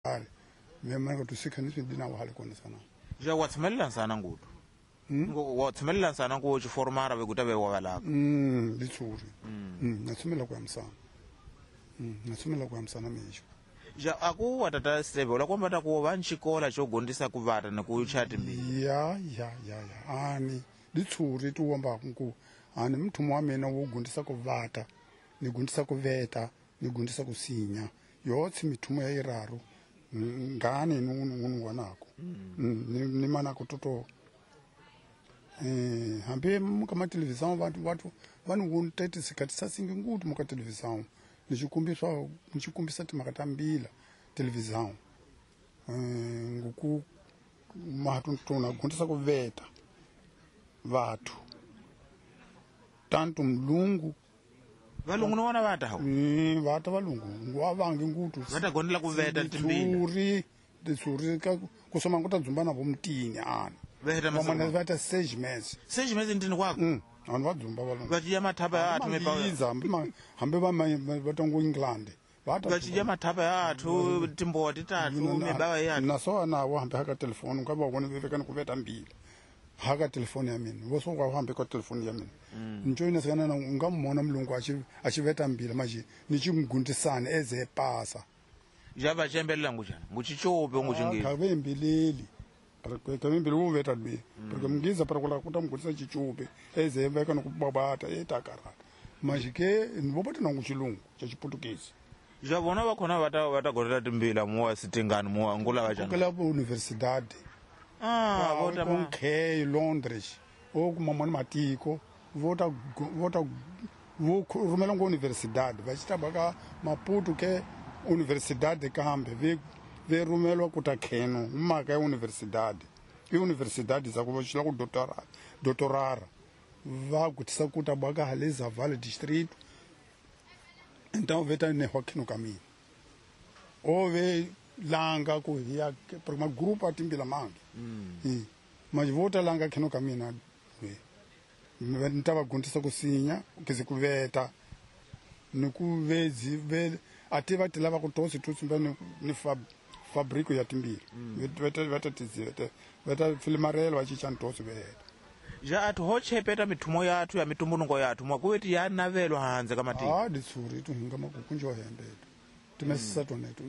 Hale me mana ka tusikha ni dina wa hale kona sana. Ja wa tshemelela sana ngutu. Ngo wa tshemelela sana ku chiformara ve kuta ve wa valaka. Litsuri. Na tshemelela ku yamsana. Na tshemelela ku yamsana mesho. Ja aku wa tata Steve la kwamba ta ku va nchikola xo gondisa ku vata ni ku chati mbili. Ya ya ya ya. Ani litsuri tu wamba ku ani mthumo wa mina wo gondisa ku vata, ni gondisa ku veta, ni gondisa ku sinya. Yotsi mithumo ya iraru. Ngani nunu wanako. Ni mana kutoto. Hambe muka ma televisão vantu vanhu wontete sikati sasingi ngutu muka televisão. Nichikumbisa timaka mbila televisão. Nguku mahatu tuna gondisa kuveta vatu. Tanto mlungu valungu no vona vata hawo. Vata valungu ngwa vangi ngutu. Vata gondela kuveta timbila. Tsuri tsuri ka kusoma nguta dzumba na vomtini ana. Veta masana vata 6 meses. 6 meses ndini kwako. Vanhu va dzumba valungu. Vachiya mathapa ya athu mepa. Hambe va vatongo England. Vata vachiya mathapa ya athu timbowa titatu mibawa ya athu. Naso na wa hambe haka telefoni ka va vona veka ni kuveta mbila. Haka telefoni ya mina. Vo so wa hambe ka telefoni ya mina. Njoyina sikana na nga mona mlungu achiveta mbila manje ni chimgundisana eze pasa. Ja va chembelela ngujana. Nguchichope nguchingezi. Ka vembileli. Ka vembili wo veta lwe. Porque mngiza para kula kuta mgundisa chichope eze veka nokubabata etakarata. Manje ke ndibopata na nguchilungu cha chiportuguese. Ja vona va khona vata gorela timbila muwa sitingani muwa ngula va jana. Kula universidade. Vota ma K Londres o kuma matiko vota vota vo rumela ngo universidade va chitaba ka Maputo ke universidade kambe ve rumelwa kuta kheno maka ya universidade. I universidade za ku va ku doctorara va kutisa kuta baka haleza Vale distrito. Então veta ne hokino kamina. O ve langa ku ya por uma grupo atimbila mangi. Mas vota langa kheno kamina we. Ntava gundisa kusinya kize kuveta nikuvezi ve ativa tilava ku tosi tutsimba ni fabrico ya timbila. Veta tizete veta filmarelo va chicha ntosi veta. Ja athu ho chepeta mithumo yathu ya mitumbunungo yathu mwakuweti ya navelwa hanze ka matiko. Ditsuri tu hinga makukunjwa hembeto. Timesisa toneto.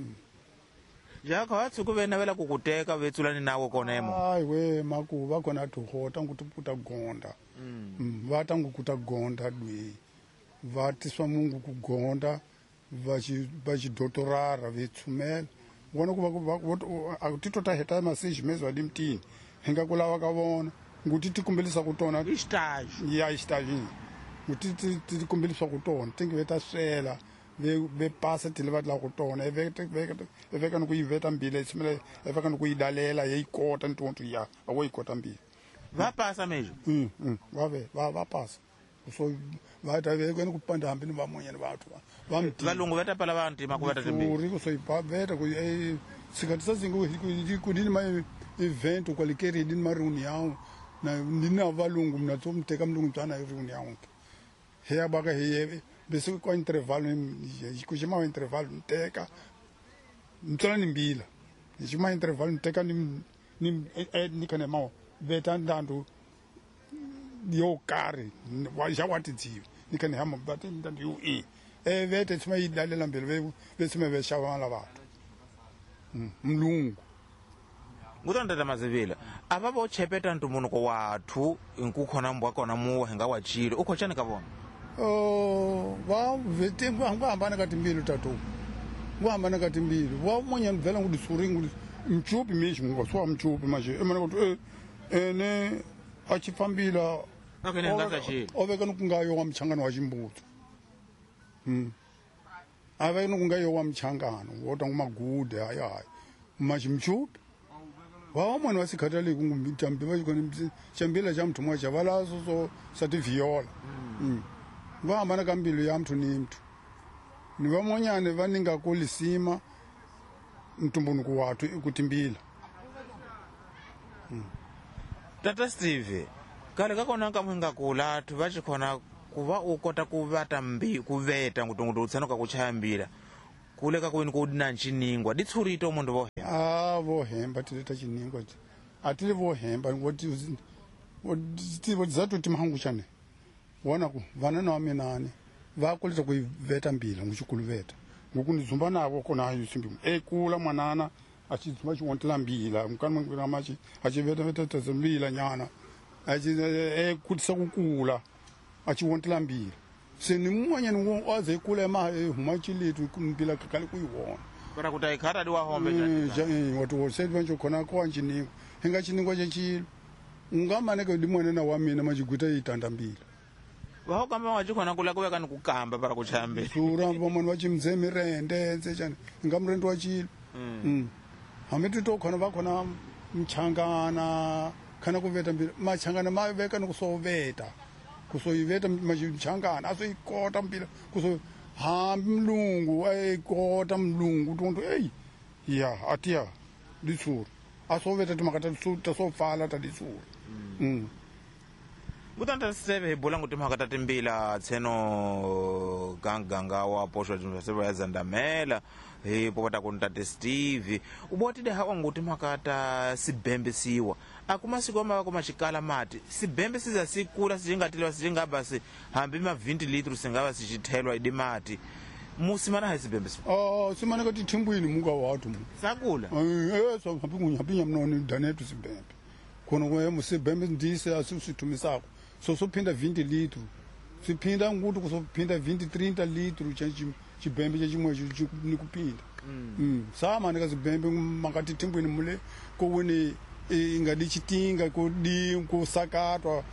Ja ka tsuku ve navela kukuteka vetsulani nawo kona emo. Ai we maku va kona tuhota ngutuputa gonda. Va tangu kuta gonda dwe. Va tiswa mungu kugonda va chidotorara vetsumela. Vona ku va titota heta message mezwa limtini. Hinga kulawa ka vona. Nguti tikumbelisa kutona istage. Ya istage. Nguti tikumbelisa kutona tingi veta swela. Ve pasa tile va la kutona eveka no kuiveta mbila tsimela eveka no kuidalela yeikota ntonto ya awoikota mbila. Va pasa mejo. Va va pasa. So va ta ve kwena kupanda hambi ni vamonye ni vathu va mti. Valungu veta pala vanti makuveta timbila. Uri so ipaveta ku sikati sazingu ku dini ma event kwalikeri dini ma reunião na nina valungu mna tsomteka mlungu mtana reunião. Heya baka heye bese kwa intervalo kuchima intervalo nteka mtsala ni mbila chima intervalo nteka ni ni kana mao veta ndandu yo kari wa ja watidziwe ni kana hama bate ndandu yo e vete chima idalela mbele ve chima ve shawana vathu mlungu ngutanda mazivila ava vo chepeta ntumunoko wathu nkukhona mbwa kona muwa hinga wachile ukhochani ka vona. Va vete ngwa hambana ka timbilu tatu. Ngwa hambana ka timbilu. Wa monya mvela ngudi suringu mchupi mishi ngwa swa mchupi manje. Emana kuti ene achifambila akene ngakachi. Oveka nukungayo wa mchangano wa chimbutso. Ave nukungayo wa mchangano wota ngumagude hayi. Machi mchupi. Wa mwana wasikhatali kungumtambi vachikona chambila cha mthu mwacha valaso so sati viola. Va hambana ka mbilu ya mthu ni mthu. Ni vamonyane va ninga kulisima mtumbunuku wathu ikutimbila. Tata Steve, kale kakona kamwinga kula athu vachikhona kuva ukota kuvata mbi kuveta ngutungutu utsanoka kuchaya mbila. Kuleka kwini ku na nchiningwa ditshurito mundu vo a vo hemba tileta chiningwa atili vo hemba ngoti vo zatu timahangu chane wona ku vana na minani va kuleta ku veta mbila nguchikuluveta ngokunizumba navo kona hayo simbi ekula mwanana achizumba chiwontela mbila mukana machi achiveta veta tazambila nyana achi ekutisa kukula achiwontela mbila senimwanya ni waze kula ma huma chilitu kumbila kakali kuiwona para kuti aikhata di wahombe chani watu wose khona kwa nchiningo hinga chiningo chechilo ungamaneke dimwene na wamina machigwita itanda mbila vaho kamba wachikhona kula kuweka ni kukamba para kuchambe sura vamwe vachimze mirende nse chani inga murende wa chilo hamiti to khona vakhona mchangana khana kuveta mbila machangana maveka ni kusoveta kusoyiveta machangana asoyikota mbila kuso hambi mlungu ayikota mlungu tuntu ei ya atia ditsura asoveta timakata tasopfala ta ditsura Kutanta seve hi bula nguti mhaka ta timbila tseno ganganga wa posho seve ya zandamela hi popota ku ntate Steve ubotide hawa nguti mhaka ta sibembesiwa akuma siku ma kuma xikala mati sibembe siza sikula sichingateliwa sichingaba si hambi ma 20 liters singava sichithelwa idi mati musimana ha sibembesiwa oh simana ka tithimbwini muka watu mu sakula so hambi kunyapinya mnoni danetu sibembe khona kwa musibembe ndise asisithumisako so sophinda 20 litro siphinda nguti kusophinda 20 30 litro chibembe chechimwe nikupinda sama ndikazibembe makati thimbwini mule kowini ingadi chitinga kudi kusakatwa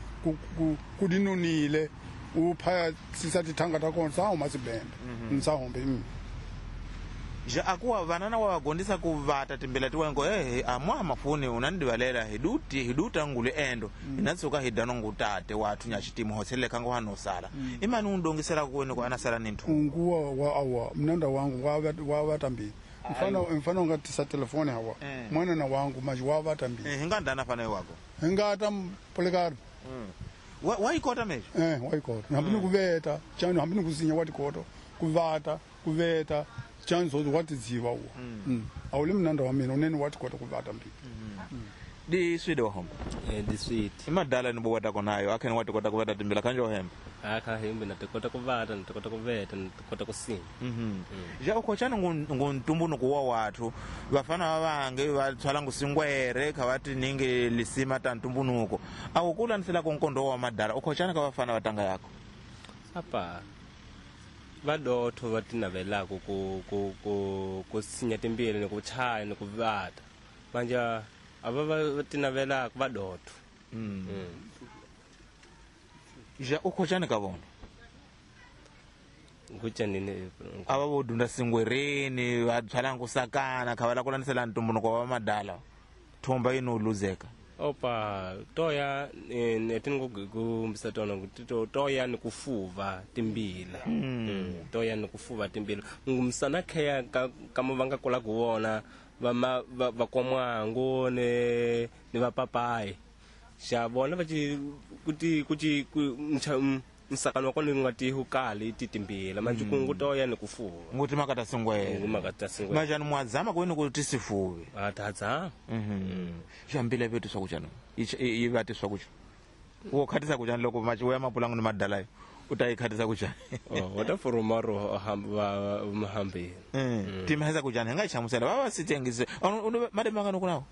kudinonile uphaya sisati thanga takona sahoma sibembe msahombe ja akuwa vanana wa vagondisa kuvata timbila tiwengo amwa mafuni unandivalela hiduti hiduta ngule endo inatsuka hidano ngutate wathu nyachitimu hotsele kango hanosala imani undongisela kuweni kwa anasala ni nthu unguwa wa awa mnanda wangu wa mbili mfano ngatisa telefoni hawa mwana na wangu maji wa mbili hingandana fana wako hingata polekar waikota mejo waikota hambini kuveta chanu hambini kusinya watikoto kuvata kuveta chanzo watidziva uwo awuli mnanda wa mina unene watikota kuvata mbili di swide wahomba di sweet imadala ni bowata konayo akheni watikota kuvata timbila kanje wahemba akha hembe natikota kuvata natikota kuveta natikota kusinya ja ukhochani nguntumbunuko wa wathu vafana va vange va tshwala ngusingwere kha va tiningi lisima ta ntumbunuko awukulanisela konkondo wa madala ukhochani ka vafana va tanga yako apa vadotho va tinavelaka ku sinya timbila ni ku chaya ni ku vata manje ava va tinavelaka vadotho ja ukhochani ka vona nguchanini ava vo dunda singwereni va tshwala kusakana kha va la ku landzelela ntumbunuko wa madala thomba yini u luzeka opa toya netingokumbisa tona kuti toya ni kufuva timbila toya ni kufuva timbila ngumsana kheya kama va nga kula ku vona va vakomwangu ni vapapayi xa vona va ci kuti kuti msakano wa kona nga ti hukali ti timbila manje kungu toya ni kufuva nguti makata singwere ngumakata singwere manje mwazama kwini kuti sifuve atadza xambila vetu swakuchano yi vati swakucha wo khatisa kuchani loko machiweya mapulangu ni madalayo u ta yi khatisa kuchani wa ta furuma ro hamba mahambeni timhesa kuchani hi nga yi hlamusela va va sitengise mademangani kunawo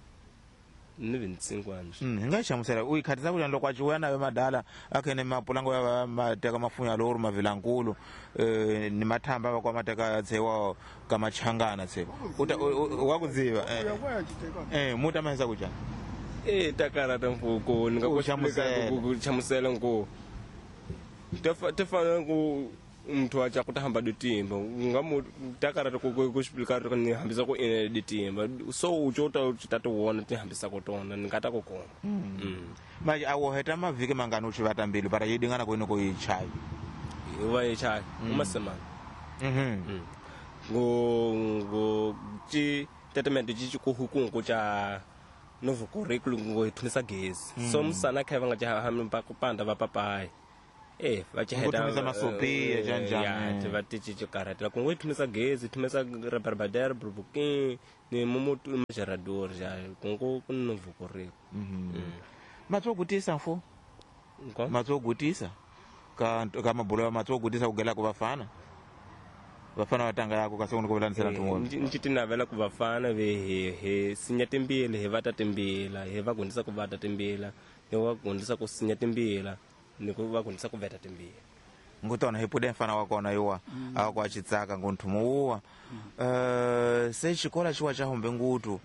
ni vintsingwana hi nga yi hlamusela u yi khatisa kuchani loko a ciweya nayo madala akhene mapulango ya mateka mafunya lowuri mavilankulu ni mathamba va kwa mateka tsewa ka machangana tsewa wa ku dziva mu ta mahisa kuchani takarata mfuko ni nga ku hlamusela nku tafana ku muthu a ku ta hamba ditimba nga mu takarata ku explicar ni hambisa ku ene ditimba so u ta ta ti vona ti hambisa ku tona ni nga ta ku kona manje a wo heta mavhiki mangani u xi vata mbilu para yi dingana ku yini ku yi chayi va yi chayi umasemana ngo ci tatement ci ku hukungu ca novo curriculum ngo hi thumisa gezi so musana kha va nga ca hambi va ku panda va papayi Va chiheta Ku thumisa masopi, ya njhani. Ya, va ti karhatela ku ngo yi thumisa gezi thumisa rebarbader brubukin ni mumutu majarador ja ku ngo ku no vukoreko. Matso gutisa mfo. Nko? Matso gutisa ka mabulo ya matso gutisa kugela ku vafana. Vafana vatanga yako kasi uno kuvulanisela ntungo. Nci ti navela ku vafana ve he sinya timbila he vata timbila he va gundisa ku vata timbila ni va gundisa ku sinya timbila ni ku va gundisa ku veta timbila. Ngutona hi pude mfana wa kona yuwa akwa chitsaka ngonthumo uwa. Se xikola xiwa xa humbe ngutu.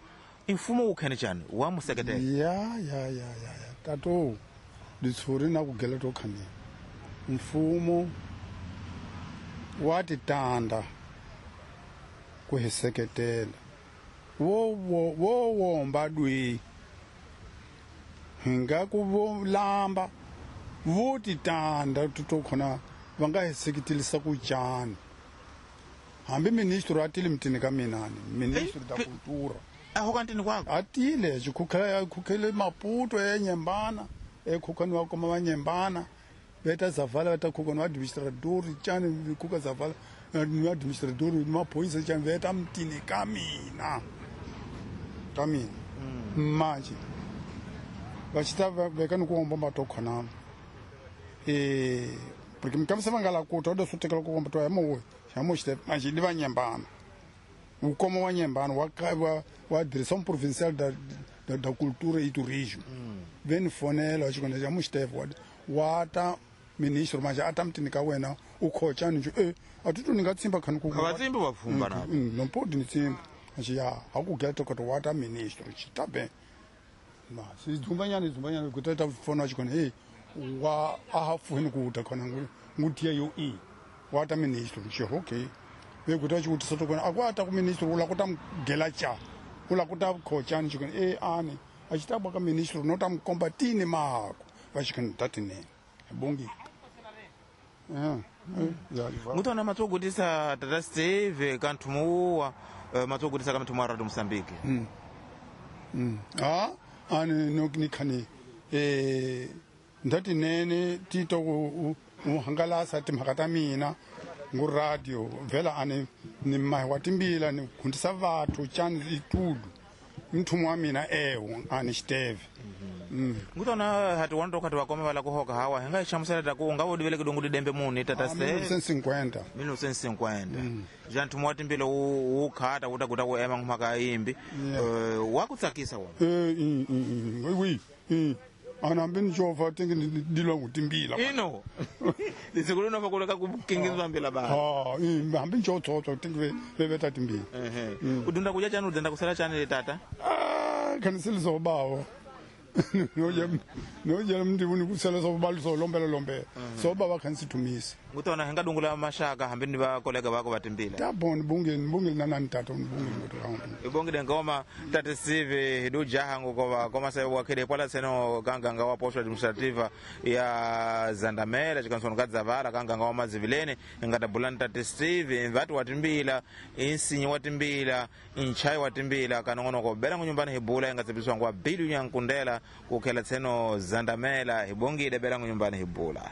Mfumo wu khene chani wa museketela. Ya. Tato ditshuri na ku gela to khani. Mfumo wa titanda ku hi seketela. Wo womba dwi. Hinga ku vo lamba vo titanda to khona va nga hi seketelisa ku cani. Hambi ministro a tile mutini ka mina ni ministro da cultura. A ho kantini kwako. A tile xikhukhela khukhele Maputo e Nyembana e khukhani wa koma va Nyembana veta Zavala veta khukhani wa administrador cani khuka Zavala ni administrador ni maphoyisa cani veta mutini ka mina. Ka mina. Manje va xita veka ni ku omba matokhona. Porque mikamisa va nga la kuta o swi tekela ku komba to ya mo ya mo xite manje ni va Nyembana. Ukoma wa Nyembana wa direção provincial da cultura e turismo. Vem fonela wa xikona xa muxitefe wa ta ministro manje a ta mutini ka wena u khocha ni a ti tu ni nga tsimba khani ku Ka va tsimbi va pfumba na. No podi ni tsimba. Manje ya ha ku geta ko wa ta ministro xita be. Ma si dzumbanyana ku ta fona xikona wa a ha fuhini ku ta khona ngutia yo i wa ta ministro xi okay. Ve ku ta xivutiso to kona a ku ata ku ministro u la ku ta mugela cha u la ku ta khocha ni xikona ani a xi ta ba ka ministro no ta mu komba tini mahako va xikona ta tinene bongi. Ngutona matso gutisa tata Steve ka nthumo uwa matso gutisa ka mthumo wa Radio Mozambique. Ani no ni khani ndati nene tito u hangalasa timhaka ta mina ngu radio vela ani ni mahi wa timbila ni gundisa vathu chani itudu mthumo wa mina ewo ani xiteve. Ngutona hati wando kati wakoma vala kuhoka hawa hinga xamusela ta ku nga wo diveleke dongo didembe muni tata Steve. 1950. 1950. Ja nthumo wa timbila wu khata wu ta kuta ku ema ngumhaka yimbi. Wa ku tsakisa wona. Oui. Ana hambi ni xova tingi ni dilwa ngu timbila. Ino. Lisikulu no fakuleka ku kingizwa mbila ba. Hambi ni xo tingi ve veta timbila. U dunda kuja chani u dunda kusela chani tata? Khaniseli so bawo. No je mndi uni kusela so balu so lombela lombela. So baba khansi thumisa. Ngutona hinga dungula mashaka hambi ni va kolega vako va timbila. Ta bon bunge nana tata bunge ngoto. Ibongile ngoma tata Steve hidu jaha ngokova koma sayo wakhele pala seno kanganga wa posho administrativa ya Zandamela chikansona kadzavala kanganga wa mazivilene ngata bulani tata Steve vati watimbila insinyi watimbila inchai watimbila kanongonoko bela ngunyumbani hibula ingatsebiswa ngwa bilu nyankundela kukhela tseno Zandamela hibongile bela ngunyumbani hibula.